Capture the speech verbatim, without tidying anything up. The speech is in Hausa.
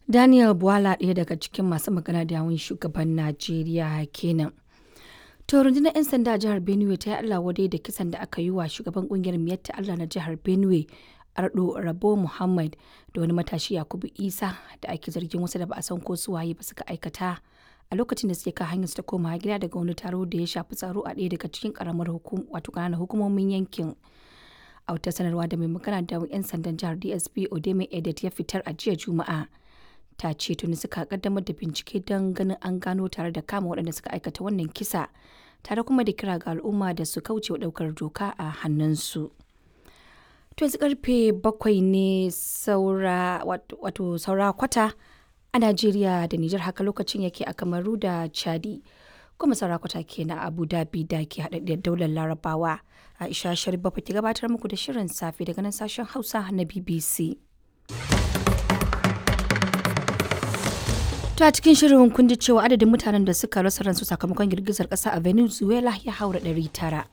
Daniel Bwala, ɗaya daga cikin masu magana da yawun shugaban Najeriya kenan. To, rundunar 'yan sanda a jihar Benue ta yi Allah wadai da kisan da aka yi wa shugaban kungiyar Miyatta Allah na jihar Benue, Ardo Rabo Muhammad, da wani matashi Yakubu Isa da ake zargin wasu da ba a san ko su waye ba suka aikata a lokacin da suke kan hanyar su ta komawa gida daga wani taro da ya shafi tsaro a ɗaya daga cikin karamar hukum wato ƙananan hukumomin yankin. A wata sanarwa da mai magana da 'yan sandan jihar, D S P Odeme Edet, ya fitar a jiya Juma'a, ta ce tuni suka kaddamar da bincike don ganin an gano tare da kama waɗanda suka aikata wannan kisa, tare kuma da kira ga al'umma da su kauce wa ɗaukar doka a hannunsu. To, yanzu karfe bakwai ne saura, wato saura kwata a Najeriya da Nijar, haka lokacin yake a Kamaru da Chadi. Kuma saura kwata kenan a Abu Dhabi da ke haɗaɗɗiyar daular Larabawa. Aisha Sharif Bafa ke gabatar muku da shirin safe daga nan sashen Hausa na B B C. To, a cikin shirin kun ji cewa adadin mutanen da suka rasa ransu sakamakon girgizar ƙasa a Venezuela ya haura ɗari tara.